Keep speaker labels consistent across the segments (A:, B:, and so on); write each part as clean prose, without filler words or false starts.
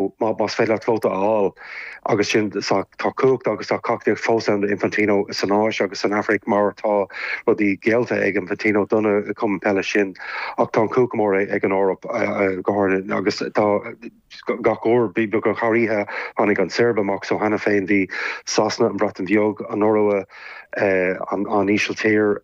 A: Más féidir leat vóta a fháil agus sin tá cumhacht agus tá tacaíocht fós ann d'Infantino san Áis agus san Afraic mar tá rudaí geallta ag Infantino do na cumainn peile sin ach tá an cumhacht mór ag an Eoraip go háirithe agus tá gach uair beagnach thar oíche tháinig an tSeirbia amach so cheana féin bhí Sasana, an Bhreatain Bheag, an Iorua, an Ísiltír.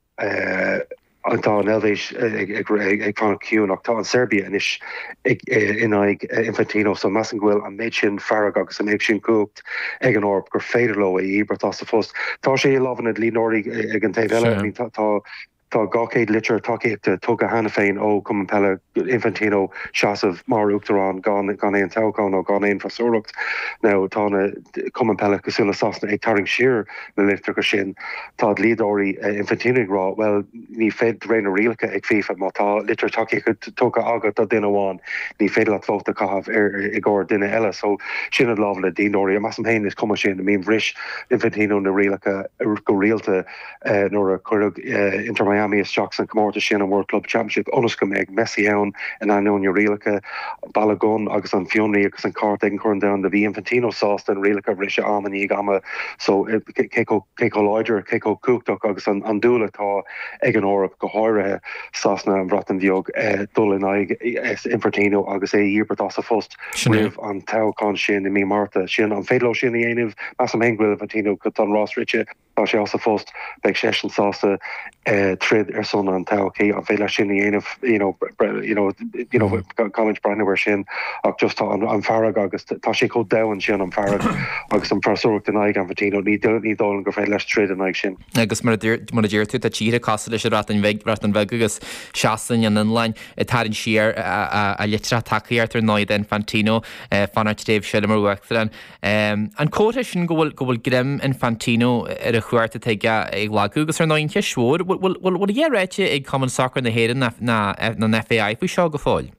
A: Tá an Eilvéis ag fanacht ciúin ach tá an Seirbia anois in aghaidh Infantino so measaim go bhfuil an méid sin fearg agus an méid sin cumhacht ag an Eoraip gur féidir leo é a dhíbirt as a phost. Tá sé i lámha na dlíodóirí ag an taobh eile. I mean tá tá 200 litir tacaíochta tugtha cheana féin ó Chumann Peile Infantino seasamh mar uachtarán gan gan aon toghchán nó gan aon freasúracht. Now tá na cumainn peile cosúil le Sasana ag tarraingt siar na litreacha sin. Tá dlíodóirí Infantino ag rá, bhuel, ní féidir, de réir na rialacha ag FIFA, má tá litir tacaíochta tugtha agat do duine amháin, ní féidir leat vóta a chaitheamh ar i gcomhair duine eile. So, sin i lámha na dlíodóirí. Measaim féin, is cuma sin. I mean, bhris Infantino na rialacha go rialta nuair a cuireadh Inter Miami isteach san comórtas sin, an World Club Championship, ionas go mbeadh Messi ann in ainneoin na rialacha. Balogun agus an fionraí agus an cárta ag an Chorn Domhanda, bhí Infantino sásta na rialacha a bhriseadh am i ndiaidh ama so cé chomh láidir, cé chomh cumhachtach agus an dúil atá ag an Eoraip, go háirithe Sasana, an Bhreatain Bheag, dul in aghaidh Infantino agus é a dhíbirt as a phost roimh an toghchán sin i mí Márta. Sin, an féidir leo sin a dhéanamh? Measaim féin go bhfuil Infantino, tá an rás rite. Tá sé as a phost, beidh seisean sásta troid ar son an todhchaí. An féidir leis sin a dhéanamh? You know, you know, you know, caithfimid breathnú air sin ach just tá an fearg agus tá sé chomh domhain sin an fearg agus an freasúracht in aghaidh Infantino. Ní ní dóigh liom gur féidir leis troid in aghaidh sin.
B: Agus mar a deir tú, tá tíortha cosúil leis an Bhreatain Bheag, Bhreatain Bheag agus Sasain, an Fhionlainn ag tarraingt siar a litreacha tacaíochta ar ndóigh d'Infantino fanacht tréimhse eile mar uachtarán. An comhartha sin go bhfuil go bhfuil greim Infantino ar an chumhacht atá aige ag lagú agus ar ndóigh an cheist mhór, bhfuil bhfuil a dhath ráite ag Cumann Sacair na hÉireann ná ná an FAI faoi seo go fóill?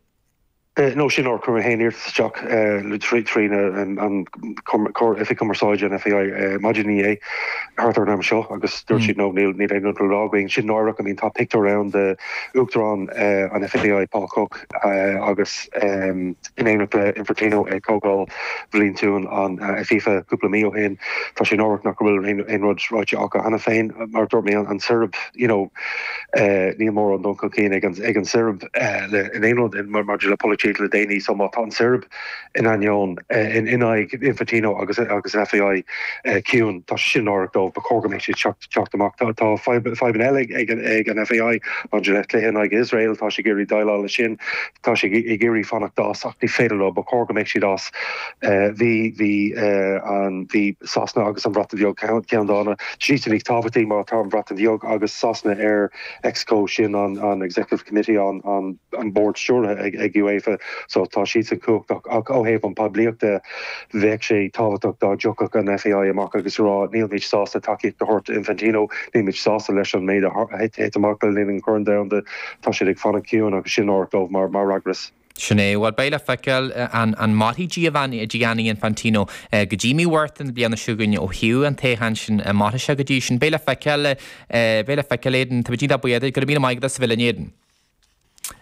A: No, sin nár chuir mé féin iarratas isteach trí an Oifig Cumarsáide an FAI maidin inné thart ar an am seo agus dúirt siad no níl níl aon rud le rá againn. Sin náireach, I mean tá pictiúr ann de Uachtarán an FAI Paul Cooke agus in éineacht le Infantino ag comhdháil bhliantúil an FIFA cúpla mí ó shin. Tá sé náireach nach bhfuil aon rud ráite acu cheana féin. Mar a dúirt mé, an tSeirbia, you know, níl mórán dul chun cinn ag an tSeirbia le in aon rud maidir le polaitíocht le déanaí. So má tá an tSeirbia in ainneoin, in aghaidh Infantino agus agus an FAI ciúin, tá sé sin náireach dóibh. Ba chóir go mbeadh siad teacht amach. Tá fadhbanna eile ag an FAI maidir le cluiche in aghaidh Iosrael, tá sé ag iarraidh déileáil leis sin. Tá sé ag iarraidh fanacht as ach ní féidir leo, ba chóir go mbeadh siad as. Bhí, bhí an, bhí Sasana agus an Bhreatain Bheag ceanndána. Siadsan níos tábhachtaí má tá an Bhreatain Bheag agus Sasana ar Exco, sin an, an Executive Committee, an, an, an bord stiúrtha ag, ag UEFA, so tá siadsan cumhachtach ach ó thaobh an poiblíocht de, Bheadh sé tábhachtach dá dtiocfadh an FAI amach agus a rá nílimid sásta tacaíocht a thabhairt d'Infantino, nílimid sásta leis an méid a thit amach le linn an Chorn Domhanda, tá siad ag fanacht ciúin agus sin náireach dóibh mar eagras.
B: Sin é. Bhuel, beidh le feiceáil an an mairfidh Gianni Infantino go dtí mí Mhárta na bliana seo chugainn ó thaobh an toghcháin sin, an mairfidh sé go dtí sin. Beidh le feiceáil, beidh le feiceáil, Aidan. Tá muid iontach buíoch duit. Go raibh míle maith agat as a bheith linn, Aidan.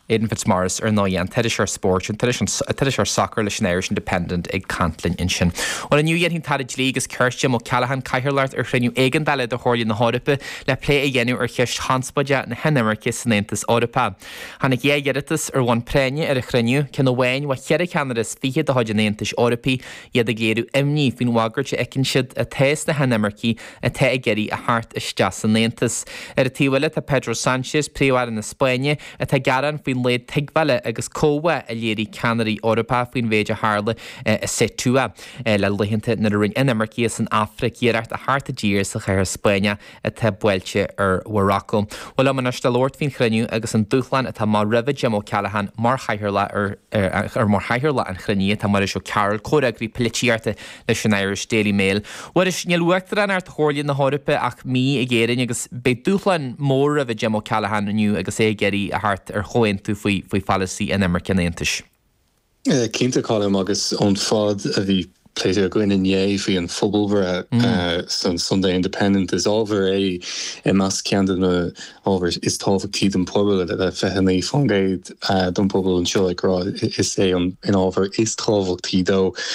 B: Aidan Fitzmaurice, ar ndóigh, an t-iriseoir spóirt, an t-iriseoir sacair leis an Irish Independent ag caint linn ansin. Bhuel, inniu dhéanfaidh an tAire Dlí agus Cirt, Jim O'Callaghan, cathaoirleacht ar chruinniú éigeandála de Chomhairle na hEorpa le plé a dhéanamh ar cheist chonspóideach na hinimirce san Aontas Eorpach. Tháinig 2 iarratas ar bhonn práinne ar an chruinniú, ceann amháin ó cheithre cheannaire is 20 de chuid an Aontais Eorpaigh, iad ag léiriú imní faoin bhagairt a fheiceann siad atá sna hinimircigh atá ag iarraidh a theacht isteach san Aontas. Ar an taobh eile tá Pedro Sánchez, Príomh-Aire na Spáinne, atá ag gearán faoin laghad tuigbheála agus comhbhá a léirigh ceannairí Eorpacha faoin mhéid a tharla i Ceuta le laethanta nuair a rinne inimircigh as an Afraic iarracht a theacht i dtír sa chathair Spáinneach atá buailte ar Mharacó. Bhuel liom anois le labhairt faoin chruinniú agus an dúshlán atá amach roimhe Jim O'Callaghan mar chathaoirleach ar mar chathaoirleach an chruinnithe tá Muiris Ó Cearúil, comhfhreagraí polaitíochta leis an Irish Daily Mail. Mhuiris, níl uachtaránacht Chomhairle na hEorpa ach mí ag Éirinn agus beidh dúshlán mór roimhe Jim O'Callaghan inniu agus é ag iarraidh a theacht ar chomhaontú faoi faoi pholasaí inimirce an Aontais.
C: Cinnte, Colm, agus ón fad a bhí. pléite againn inné faoi an phobalbhreith san Sunday Independent. Is ábhar é i measc ceann de na hábhair is tábhachtaí don phobal, le 29% don phobal anseo ag rá is é an ábhar is tábhachtaí dó.